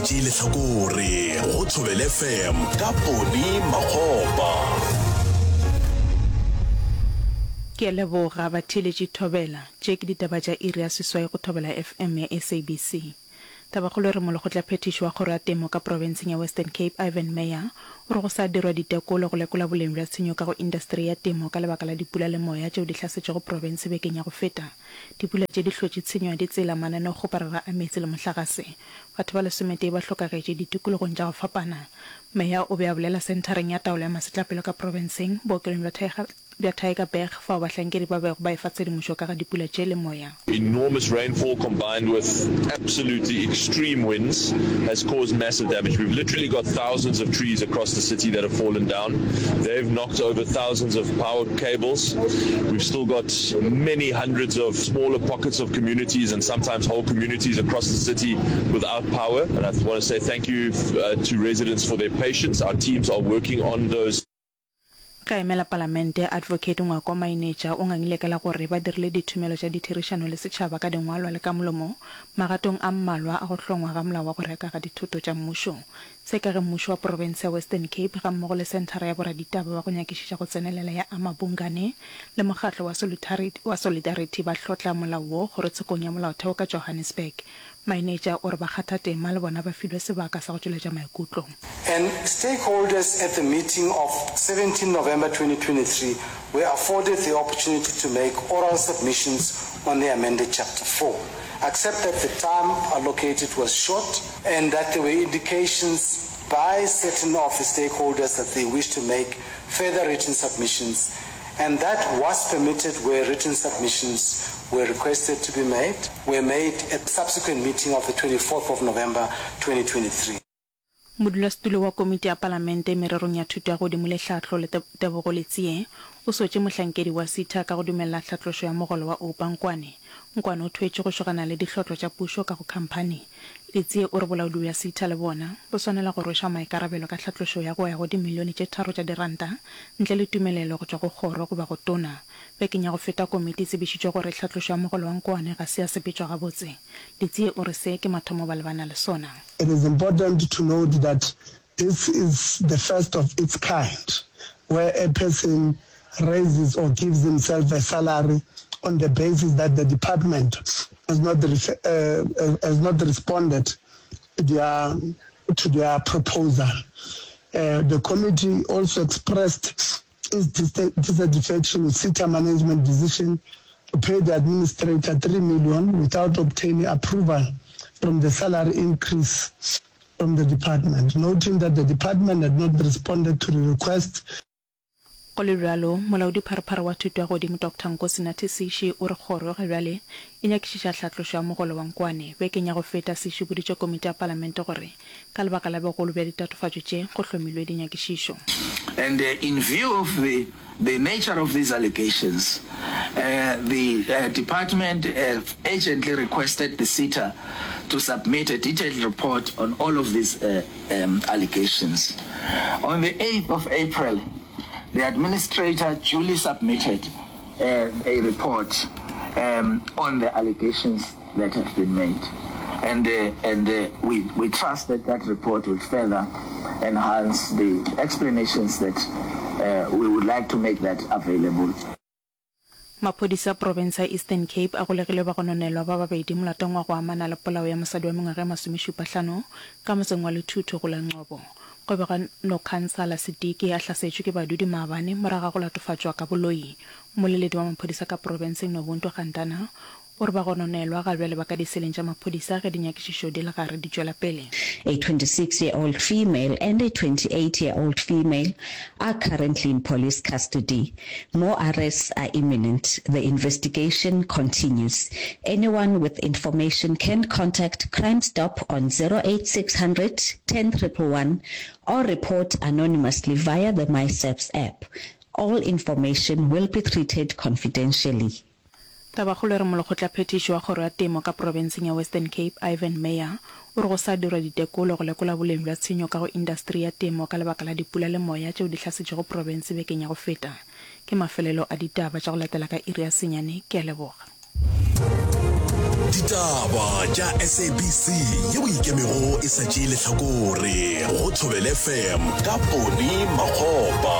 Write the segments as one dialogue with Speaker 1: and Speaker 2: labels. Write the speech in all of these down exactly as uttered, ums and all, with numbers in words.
Speaker 1: tšee lehlakore go Thobela FM ka Poni Makgopa.
Speaker 2: Ke a leboga batheeletši Thobela. Tše ke ditaba tša iri ya seswai go Thobela FM ya SABC. Tabakgolo e re Molekgotlaphethiši wa Kgoro ya Temo ka profenseng ya Western Cape Ivan Meyer o re go sa dirwa ditekolo go lekola boleng bja tshenyo ka go indasteri ya temo ka lebaka la dipula le moya tšeo di hlasetšego profense bekeng ya go feta. Dipula tše di hlotše tshenyo ya ditsela, mananeokgoparara a meetse le mohlagase. Batho ba lesometee ba hlokagetše ditikologong tša go fapana. Meyer o be a bolela senthareng ya taolo ya masetlapelo ka profenseng, bookelong bja Tyger bja Tygerberg fao bahlankedi ba bego ba efa tshedimošo ka ga dipula tše le moya.
Speaker 3: Enormous rainfall combined with absolutely extreme winds has caused massive damage. We've literally got thousands of trees across the city that have fallen down. They've knocked over thousands of power cables. We've still got many hundreds of smaller pockets of communities and sometimes whole communities across the city without power. And I want to say thank you uh, to residents for their patience. Our teams are working on those.
Speaker 2: Ge a emela Palamente, Advocate Ngwako Mainetša o ngangile ka la gore ba dirile dithomelo tša ditherišano le setšhaba ka dingwalwa le ka molomo magatong a mmalwa a go hlongwa ga molao wa go reka ga dithoto tša mmušo. Se ka ge mmušo wa profense ya Western Cape gammogo le Senthara ya Boraditaba ba go Nyakišiša go Tsenelela ya Amabungane le mokgatlo wa wa Solidarity ba hlotla molao wo kgorotshekong ya molaotheo ka Johannesburg. Mainetša o re bakgathatema le bona ba filwe sebaka sa go tšweletša maikutlo.
Speaker 4: And stakeholders at the meeting of seventeen November twenty twenty-three were afforded the opportunity to make oral submissions on the amended Chapter four, except that the time allocated was short and that there were indications by certain of the stakeholders that they wished to make further written submissions, and that was permitted where written submissions were requested to be made, were made at subsequent meeting of the twenty-fourth of November twenty twenty-three.
Speaker 2: Modulasetulo wa Komiti ya Palamente mererong ya Thuto ya Godimo le Tlhahlo le Tebogo Letsie o sotše mohlankedi wa SETA ka go dumelela tlhatlošo ya mogolo wa Oupa Nkwane. Nkwane o thwetše go šogana le dihlotlo tša pušo ka go khamphani. Letsie o re bolaodi bja SETA le bona bo swanela go rwešwa maikarabelo ka tlhatlošo ya go ya go dimilione tše tharo tša diranta ntle le tumelelo go tšwa go kgoro goba go tona. Bekeng ya go feta komiti e tsebišitše gore tlhatlošo ya mogolo wa Nkwane ga se ya sepetšwa gabotse. Letsie o re se ke mathomo ba lebana le sona.
Speaker 5: It is important to note that this is the first of its kind where a person raises or gives himself a salary on the basis that the department has not, uh, has not responded to their, to their proposal. Uh, the committee also expressed its dissatisfaction with SETA management decision to pay the administrator three million without obtaining approval from the salary increase from the department, noting that the department had not responded to the request.
Speaker 2: Go le bjalo, Molaodipharephare wa Thuto ya Godimo Doctor Nkosinathi Sishi o re kgoro ga bjale e nyakišiša hlatlošo ya mogolo wa Nkwane. Bekeng ya go feta, Sishi o boditše komiti ya palamente gore ka lebaka la bogolo bja ditatofatšo tše, go hlomilwe dinyakišišo.
Speaker 6: And in view of the the nature of these allegations, the department urgently requested the SETA to submit a detailed report on all of these allegations. On the eighth of April, the administrator duly submitted uh, a report um, on the allegations that have been made. And, uh, and uh, we, we trust that that report will further enhance the explanations that uh, we would like to make that available.
Speaker 2: Maphodisa a profense ya Eastern Cape a golegile bagononelwa ba babedi molatong wa go amana le polao ya mosadi wa mengwaga e masomešupahlano ka motseng wa Lethuthu go la Ngcobo. Go begwa Nokhansala Sidiki a hlasetšwe ke badudi maabane morago ga go latofatšwa ka boloi. Mmoleledi wa maphodisa ka profenseng Nobuntu Gantana o re bagononelwa ga bjale ba ka diseleng tša maphodisa ge dinyakišišo di le gare di tšwela pele.
Speaker 7: A twenty-six year old female and a twenty-eight year old female are currently in police custody. More arrests are imminent. The investigation continues. Anyone with information can contact Crime Stop on zero eight six hundred ten triple one or report anonymously via the MySAPS app. All information will be treated confidentially.
Speaker 2: Tabakgolo e re Molekgotlaphethiši wa Kgoro ya Temo ka profenseng ya Western Cape, Ivan Meyer, o re go sa dirwa ditekolo go lekola boleng bja tshenyo ka go indasteri ya temo ka lebaka la dipula le moya tšeo di hlasetšego profense bekeng ya go feta. Ke mafelelo a ditaba tša go latela ka iri ya senyane. Ke a leboga.
Speaker 1: Ditaba tša S A B C yeo ikemego e sa tšee lehlakore go Thobela F M ka Poni Makgopa.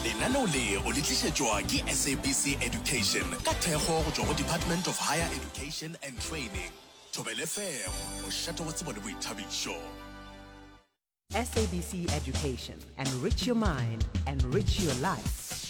Speaker 1: Lenaneo le o le tlišetšwa ke S A B C Education ka thekgo go tšwa go Department of Higher Education and Training. Thobela F M, mošate wa tsebo le boithabišo.
Speaker 8: S A B C Education. Enrich your mind, enrich your life.